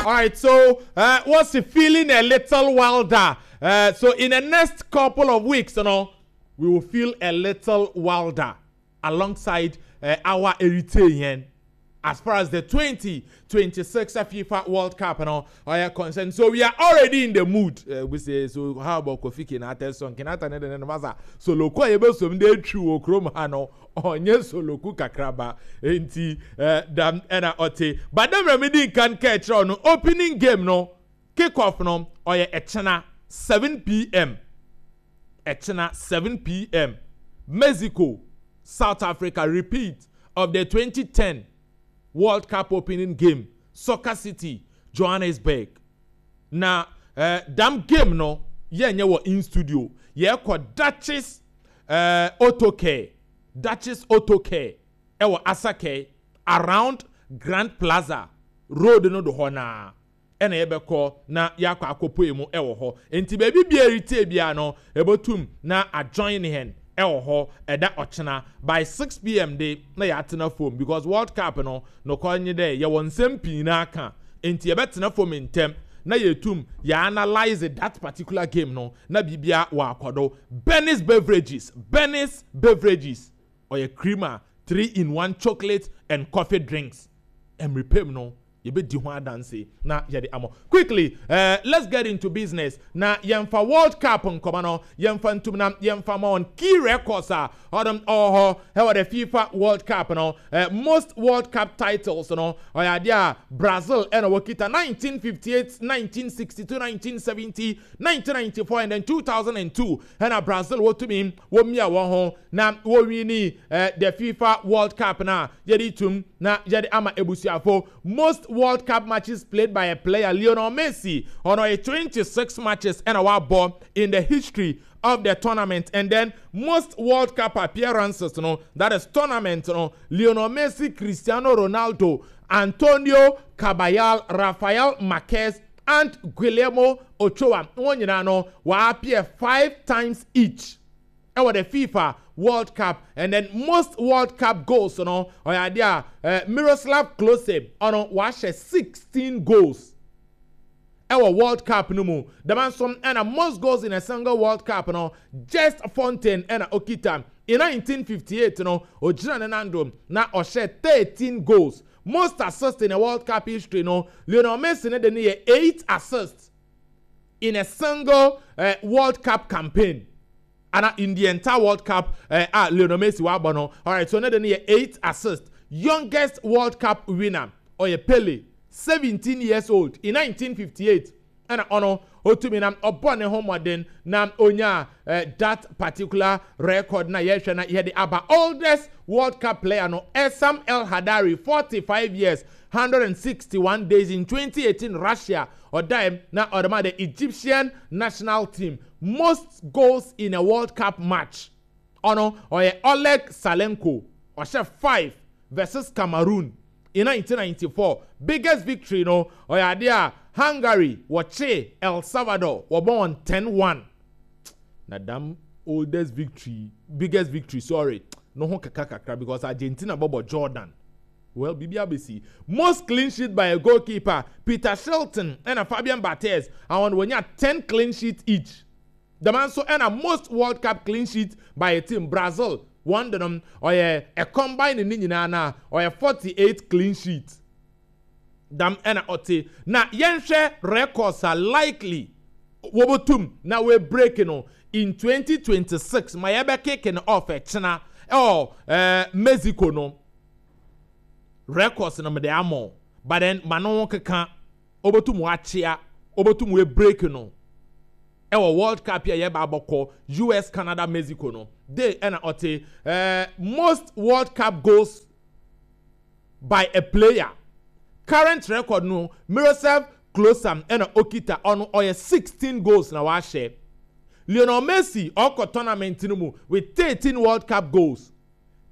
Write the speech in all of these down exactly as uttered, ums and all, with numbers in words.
All right, so uh, what's the feeling a little wilder? Uh, so in the next couple of weeks, you know, we will feel a little wilder alongside uh, our Eritrean as far as the twenty twenty-six FIFA World Cup you know, are concerned. So we are already in the mood. Uh, we say, so how about Kofi Kinata song? Kinata ne ne masa. So loko ebe so mde twi wo krom ha no. Onye soloku kakraba. Enti uh, dam ena ote. But dem remedy kan catch no opening game no, kick off no ɔyɛ ɛkyena seven p m. Ɛkyena seven p m. Mexico, South Africa, repeat of the twenty ten World Cup opening game, Soccer City, Johannesburg. Na uh, dam game no yɛnyɛ wɔ in studio, yɛkɔ Duchess uh, Auto Care, Duchess Auto Care ɛwɔ Asake around Grand Plaza road no do hɔ naa ɛna yɛbɛkɔ na yɛakɔ akɔpue mu ɛwɔ hɔ. Nti baabi bia ɛretie bia no ɛbɛtum na ajoin hɛn ɛwɔ hɔ ɛda ɔkyena by six p m de na yɛatena fam, because World Cup no nokɔ nye dɛ yɛwɔ nsɛm pii na aka, nti yɛbɛtena fam ntɛm na yɛtum yɛ analyse that particular game no na biribia wɔ akɔdo. Bernice Beverages, Bernice Beverages ɔyɛ creamer, three in one chocolate and coffee drinks. Mmeripem no yɛbɛdi ho adanse na yɛde ama. Quickly, uh, let's get into business na yɛmfa World Cup nkɔmɔ no yɛmfa ntum na yɛmfa ma on key records a ɔdɔm ɔwɔ hɔ ɛwɔ the FIFA World Cup no. uh, most World Cup titles no ɔyɛ adeɛ a Brazil ɛna wɔkita nineteen fifty-eight, nineteen sixty-two, nineteen seventy, nineteen ninety-four and then two thousand two. Ɛna Brazil wɔtumi wɔmia wɔn ho na wɔwini uh, the FIFA World Cup na yɛde tum na yɛde ama ebusuafo. Most World Cup matches played by a player, Lionel Messi ɔno ɔyɛ twenty-six matches ɛna wabɔ in the history of the tournament. And then most World Cup appearances no, that is tournament no, Lionel Messi, Cristiano Ronaldo, Antonio Caballal, Rafael Marquez and Guillermo Ochoa, wɔn nyinaa no wɔappear five times each ɛwɔ the FIFA World Cup. And then most World Cup goals no ɔyɛ adeɛ a uh, Miroslav Klose ɔno wahyɛ sixteen goals ɛwɔ World Cup no mu. Dɛm nso ɛna most goals in a single World Cup no, Just Fontaine ɛna okita. In nineteen fifty-eight no ogyina ne nan do na ɔhyɛ thirteen goals. Most assists in a World Cup history no, Lionel Messi ne de ne yɛ eight assists in a single uh, World Cup campaign ana in the entire World Cup uh, ah, Lionel Messi wabɔ no. Alright, so ne de ne yɛ eight assists. Youngest World Cup winner ɔyɛ Pele, seventeen years old, in nineteen fifty-eight ɛna ɔno otumi na ɔbɔ ne ho mmɔden na onya uh, that particular record na yɛhwɛ na yɛde aba. Oldest World Cup player no, Essam El Hadary, forty-five years one hundred sixty-one days, in twenty eighteen Russia ɔdaem na ɔdema the Egyptian national team. Most goals in a World Cup match ɔno ɔyɛ Oleg Salenko, ɔhyɛ five versus Cameroon in nineteen ninety-four. Biggest victory no ɔyɛ adeɛ a Hungary wɔkye El Salvador, wɔbɔ wɔn ten one. Na dam oldest victory, biggest victory, sorry, no ho kaka kakra because Argentina bɔbɔ Jordan. Well, biribi abɛsi. Most clean sheet by a goalkeeper, Peter Shilton ɛna Fabian Barthez, àwọn wɔnya ten clean sheet each. Dɛm nso ɛna most World Cup clean sheet by a team, Brazil wɔn de nom ɔyɛ a combine ne nyinaa na ɔyɛ forty eight clean sheet. Dam ɛna ɔte na yɛnhwɛ records a likely wɔbɛtum na wɔ break no in twenty twenty-six ma yɛbɛ kick no off ɛkyena ɛwɔ ɛɛ Mexico no. Records no mede ama, but then ma no keka wɔbɛtum wakyea wɔbɛtum wɔ break no ɛwɔ World Cup yi a yɛba abɔkɔ U S, Canada, Mexico no de. Ɛna ɔte ɛɛ most World Cup goals by a player, current record no, Miroslav Klose ɛna okita, ɔno ɔyɛ sixteen goals na wahyɛ. Lionel Messi ɔkɔ tournament no mu with thirteen World Cup goals.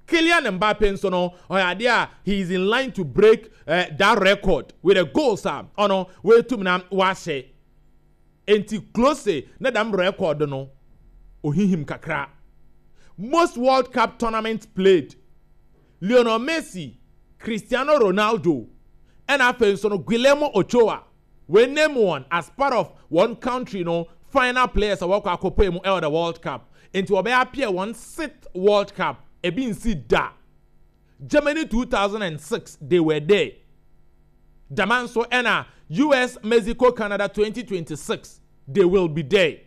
Kylian Mbappe nso no ɔyɛ adeɛ a he is in line to break uh, that record with the goals a ɔno wetum na wahyɛ. Nti Klose ne dam record no ohihim kakra. Most World Cup tournament played, Lionel Messi, Cristiano Ronaldo ɛna afei nso no Guillermo Ochoa. We name one as part of one country no final players a wɔkɔ akɔpɔ mu ɛwɔ the World Cup. Nti wɔbɛyɛ appear wɔn sixth World Cup. Ebi nsi da. Germany two thousand six, they were there. Dama nso ɛna U S, Mexico, Canada twenty twenty-six, they will be there.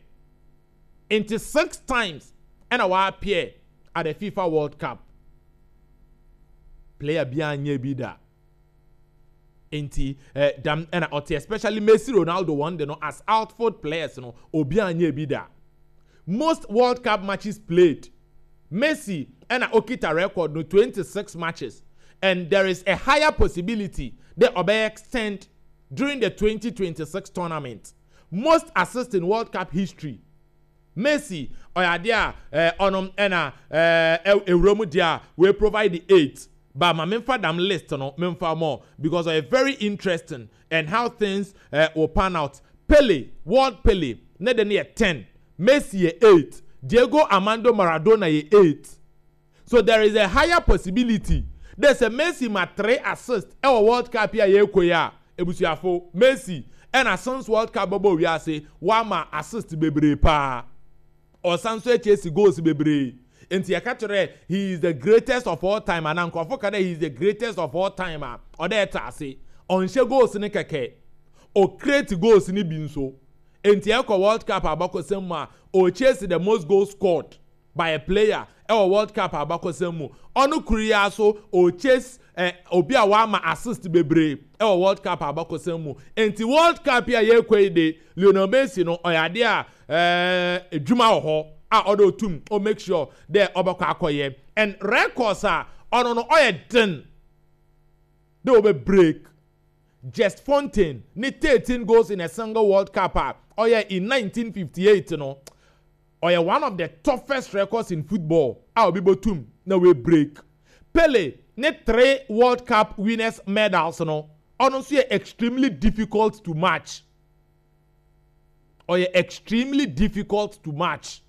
Nti six times ɛna wɔappear at the FIFA World Cup. Player biara nyɛ bi da. Nti eh, dam ɛna ɔte, especially Messi, Ronaldo wɔn de no as outfield players no, obiara nyɛ bi da. Most World Cup matches played, Messi ɛna okita record no, twenty-six matches, and there is a higher possibility that ɔbɛyɛ extend during the twenty twenty-six tournament. Most assists in World Cup history, Messi ɔyɛ adeɛ a ɛɛ ɔnom ɛna ɛɛ ewura mu deɛ a we provide the eight, but ma memfa dam list no memfa more because ɔyɛ very interesting and how things uh, will pan out. Pele, world Pele ne de ne yɛ ten, Messi yɛ eight, Diego Armando Maradona yɛ eight. So there is a higher possibility there's a Messi ma three assists ɛwɔ World Cup yi a yɛrekɔ yi a. Ebusuafo, Messi ɛna since World Cup bɛbɔ wiase, wama assist bebree paa, ɔsan so akyi esi goals bebree. Nti yɛka kyerɛ he is the greatest of all time ana nkurɔfo ka dɛ he is the greatest of all time a, ɔdɛ ɛta ase ɔnhyɛ goals ne kɛkɛ, ɔcreate goals ne bi nso. Nti ɛkɔ World Cup abakɔsɛm mu a, ɔchase the most goals scored by a player ɛwɔ World Cup abakɔsɛm mu. Ɔno kuru yi aso ɔchase ɛ obi a wama assist bebree ɛwɔ World Cup abakɔsɛm mu. Nti World Cup yi a yɛrekɔ yi de, Lionel Messi no ɔyɛ adeɛ a ɛɛ edwuma wɔ hɔ a ɔde otum o make sure dɛ ɔbɛkɔ akɔyɛ and records a ɔno no ɔyɛ den de ɔbɛ break. Just Fontaine ne thirteen goals in a single World Cup a ɔyɛ in nineteen fifty-eight no, ɔyɛ one of the toughest records in football a obi bɔtum na wei break. Pele ne three World Cup winners medals no, ɔno nso yɛ extremely difficult to match. Ɔyɛ extremely difficult to match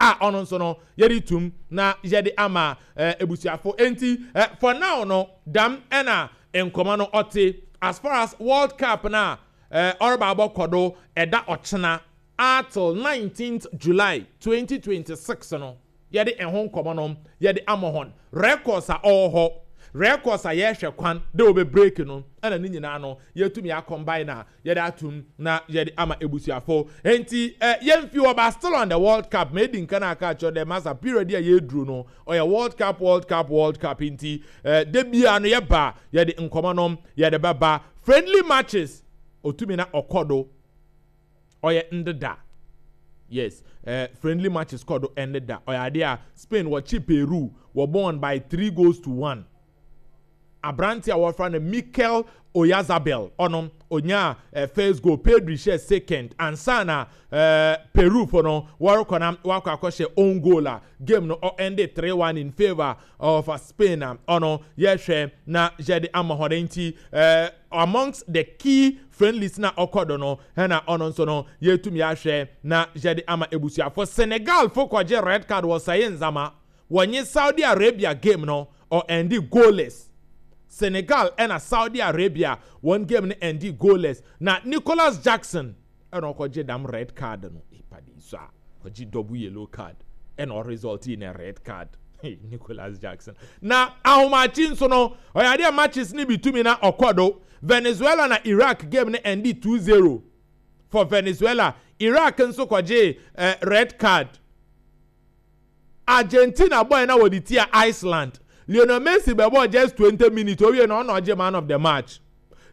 a ɔno nso no yɛde tum na yɛde ama ɛɛ ebusuafo. Enti ɛ for now no, dam ɛna nkɔmɔ no ɔte as far as World Cup na ɛɛ ɔreba abɔ kɔdo ɛda ɔkyena until nineteenth July twenty twenty-six no, yɛde ɛho nkɔmɔ no yɛde ama hɔn. Records a ɔwɔ hɔ, records a yɛrehwɛ kwan de wɔbɛ break no, ɛna ne nyinaa no yɛtumi akɔmbae na yɛde atum na yɛde ama ebusuafo. Nti ɛ yɛmfi hɔ ba, still on the World Cup. Mɛ edi nkan aka akyerɛ dɛ masa period a yɛduru no ɔyɛ World Cup, World Cup, World Cup. Nti ɛ de bia no yɛba yɛde nkɔmɔ no yɛde bɛba. Friendly matches otumi na ɔkɔ do ɔyɛ ndeda. Yes, uh, friendly matches kɔ do ndeda. Ɔyɛ adeɛ a Spain wɔkye Peru, wɔ bɔn by three goals to one. Aberante a wɔfra no Mikel Oyarzabal, ɔno onya uh, first goal, Pedri hyɛ second ansa na uh, Peru fo no wɔrekɔ na wakɔ akɔhyɛ own goal a game no ɔende three one in favour of uh, Spain a ɔno yɛhwɛ na yɛde ama hɔ. Nti uh, amongst the key friendlies na ɔkɔ do no, ɛna ɔno nso no yɛtumi ahwɛ na yɛde ama ebusuafo. Senegal fo kɔgye red card wɔ sɛye nzama wɔnye Saudi Arabia game no, ɔende goalless. Senegal ɛna Saudi Arabia wɔn game no ɛndi goalless na Nicholas Jackson ɛna ɔkɔgye dam red card no. Ìpàdé so a ɔgye double yellow card ɛna ɔresult in a red card. Hey, Nicholas Jackson. Na ahomakye nso no ɔyɛ adeɛ matches ne bi tumi na ɔkɔ do. Venezuela na Iraq game no ɛndi two zero for Venezuela. Iraq nso kɔgye uh, red card. Argentina boy na wɔde tia Iceland, Lionel Messi bɛbɔ just twenty minutes owie na ɔna ɔgye man of the match.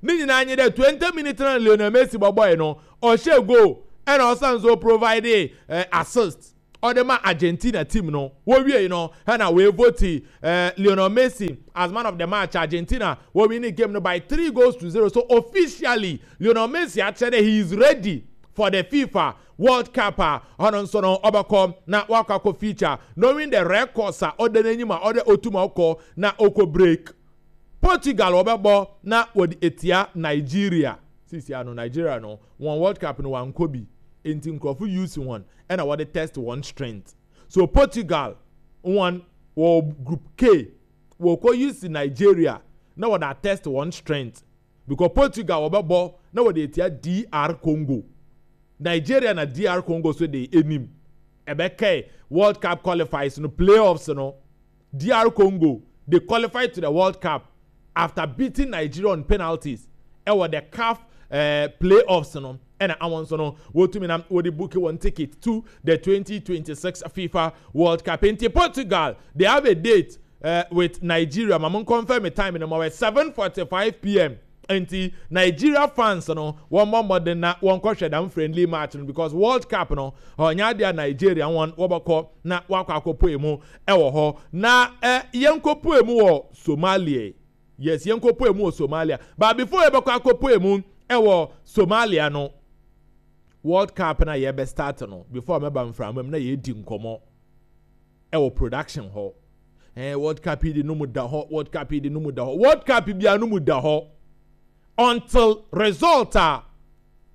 Ne nyinaa nye dɛ twenty minutes na Lionel Messi bɔbɔe no, ɔhyɛ goal ɛna ɔsan so provide uh, assist ɔde ma Argentina team no. Wɔwie no ɛna wɔevote uh, Lionel Messi as man of the match. Argentina wɔwin game no by three goals to zero. So officially Lionel Messi akyerɛ dɛ he is ready for the FIFA World Cup a ɔno nso no ɔbɛkɔ na wakɔ akɔ feature, knowing the records a ɔda n'anim a ɔde otum ɔkɔ na ɔkɔ break. Portugal wɔbɛbɔ na wɔde etia Nigeria. Sisi ano Nigeria no wɔn World Cup no wankɔ bi, nti nkurɔfo use wɔn ɛna wɔde test wɔn strength. So Portugal wɔn wɔ Group K, wɔkɔ use Nigeria na wɔde test wɔn strength. Because Portugal wɔbɛbɔ na wɔde etia D R Congo. Nigeria na D R Congo so de anim ɛbɛkɛ World Cup qualifiers no, playoffs no. D R Congo, they qualified to the World Cup after beating Nigeria on penalties ɛwɔ the CAF uh, playoffs no. Ɛna awon nso no wɔtumi na wɔde book wɔn ticket to the twenty twenty-six FIFA World Cup. Nti Portugal, they have a date uh, with Nigeria. Mamu confirm time no ma wɔ seven forty-five p m. Nti Nigeria fans no, wɔn bɔ mmɔden na wɔn kɔhwɛ dam friendly match no, because World Cup no, ɔnyɛ adeɛ a Nigeria wɔn wɔbɛkɔ na wakɔ akɔpue mu ɛwɔ hɔ. Na ɛ yɛn kɔpue mu wɔ Somalia. Yes, yɛn kɔpue mu wɔ Somalia, but before yɛbɛkɔ akɔpue mu ɛwɔ Somalia no, World Cup na yɛbɛ start no, before mɛba mframa mu na yɛdi nkɔmɔ ɛwɔ production hɔ, ɛɛ World Cup yi de no mu da hɔ, World Cup yi de no mu da hɔ, World Cup bia no mu da hɔ until result a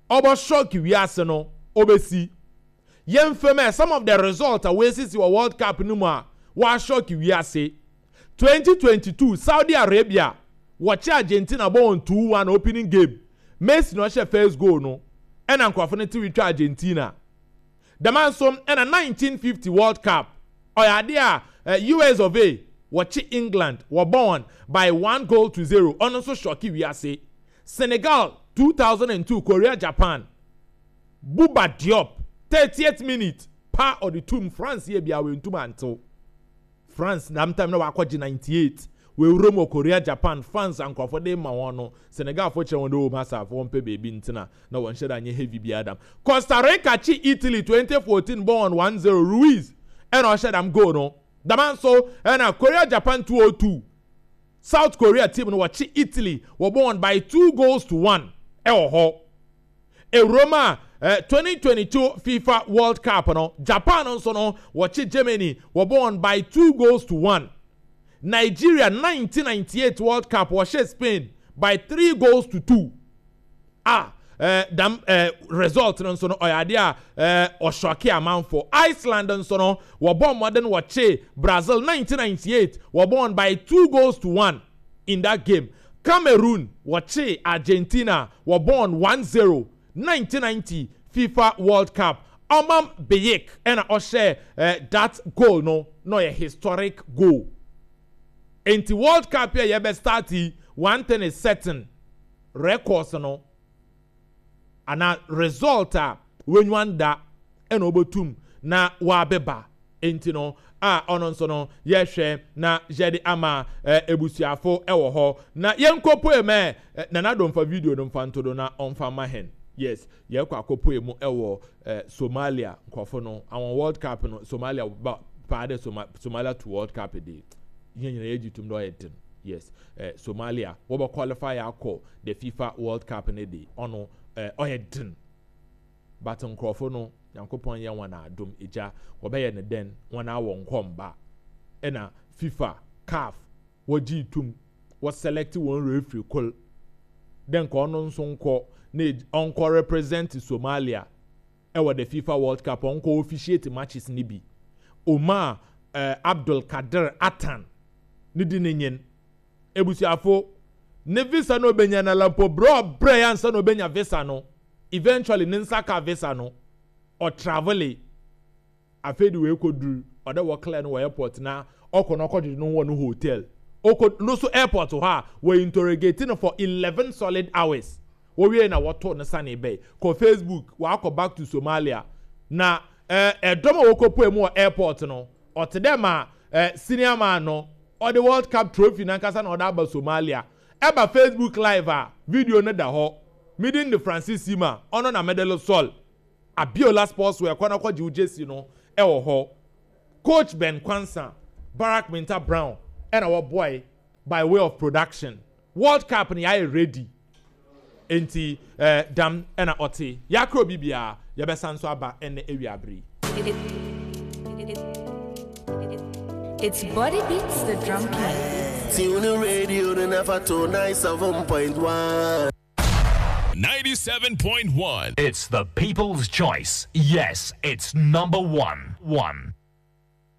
ɔbɔ shock wiase no ɔbɛsi. Yɛn fɛm ɛ some of the result a wɔasisi wɔ World Cup no mu a wɔashock wiase: twenty twenty-two, Saudi Arabia wɔkye Argentina bɔ wɔn two one opening game. Messi na ɔhyɛ first goal no, ɛna nkurɔfo no ti twa Argentina. Dɛm nso ɛna nineteen fifty World Cup, ɔyɛ adeɛ a U S of A wɔkye England, wɔbɔ wɔn by one goal to zero. Ɔno nso shock wiase. Senegal two thousand and two, Korea Japan, Bouba Diop, thirtieth minute pa ɔde tum. France yɛ bia wɔntum antew France dam time na wakɔgye ninety-eight wɔawura mu wɔ Korea Japan. Fans nkurɔfo de ma wɔn no, Senegal fo kyerɛ wɔn de wɔn asafo wɔn pɛ beebi ntena na wɔn hyɛ da nyɛ heavy bi adam. Costa Rica kyi Italy twenty fourteen, bɔ wɔn one zero. Ruiz ɛna ɔhyɛ dam goal no. Dama nso ɛna Korea Japan two oh two, South Korea team no wɔkye Italy, wɔbɔ wɔn by two goals to one ɛwɔ hɔ. Ewurom a eh, twenty twenty-two FIFA World Cup no, Japan nso no wɔkye Germany, wɔbɔ wɔn by two goals to one. Nigeria nineteen ninety-eight World Cup, wɔhyɛ Spain by three goals to two. A eh, dam eh, result no nso no ɔyɛ adeɛ a eh, ɔshock amanfo. Iceland nso no wɔbɔ mmɔden wɔkye Brazil nineteen ninety-eight, wɔbɔ wɔn by two goals to one in that game. Cameroon wɔkye Argentina, wɔbɔ wɔn one zero. nineteen ninety FIFA World Cup, Omam Biyik ɛna ɔhyɛ eh, that goal no na ɔyɛ historic goal. Nti World Cup yɛ yɛbɛ start yi, one thing is certain: records no ana result a wenwan da ɛna ɔbɛtum na wabɛba. Nti no a ɔno nso no yɛhwɛ na yɛde ama ɛ ebusuafo ɛwɔ hɔ na yɛnkɔpoe mɛ ɛ Nana Domfa video no mfa nto do na ɔmfa ma hɛn. Yes, yɛkɔ akɔpoe mu ɛwɔ ɛ Somalia. Nkurɔfo no àwọn World Cup no, Somalia ba paa dɛ Soma Somalia to World Cup de yɛn nyinaa yɛgye tum dɛ ɔyɛ den. Yes, ɛ Somalia wɔbɛ qualify akɔ the FIFA World Cup ne de, ɔno ɛ ɔyɛ den, but nkurɔfo no, Nyankopɔn yɛ wɔn adom egya wɔbɛyɛ ne den wɔn awɔ nkɔmba. Ɛna FIFA, CAF wɔgye tum wɔ select wɔn referee kol dɛ nka ɔno nso nkɔ na ɔnkɔ represent Somalia ɛwɔ the FIFA World Cup, ɔnkɔ officiate matches ne bi. Omar ɛɛ Abdul Kadir Atan ne di ne nyin ebusuafo ne visa no obenya na lampo brɛ ɔbrɛ yansa na obenya visa no. Eventually ne nsa ka visa no, ɔtravel. Afei de wei kɔduru ɔdɛ wɔ clear no wɔ airport na ɔkɔ no ɔkɔdwedwe no wɔ no hotel. Ɔkɔ no so airport hɔ a wɔ interrogate no for eleven solid hours. Wɔwie na wɔto ne sane bɛyi kɔ Facebook. Wakɔ back to Somalia na ɛɛ ɛdɔm a wɔkɔ mu wɔ airport no, ɔte dɛ ma ɛɛ senior man no ɔde World Cup trophy nankasa na ɔde aba Somalia. Ɛba Facebook Live a video no da hɔ. Meeting de Francis Sima, ɔno na medal sol Abiola Sportswear kɔ na kɔgye wo jersey no ɛwɔ hɔ. Coach Ben Kwansa, Barak Minta Brown ɛna wɔboae by way of production. World Cup no yɛayɛ ready, nti ɛɛ dam ɛna ɔte yɛakora obi biara. Yɛbɛsa nso aba ɛnɛ ewia abere. It's Body Beats the Drum King. Tune the radio to never to ninety-seven point one. ninety-seven point one. It's the people's choice. Yes, it's number one. One.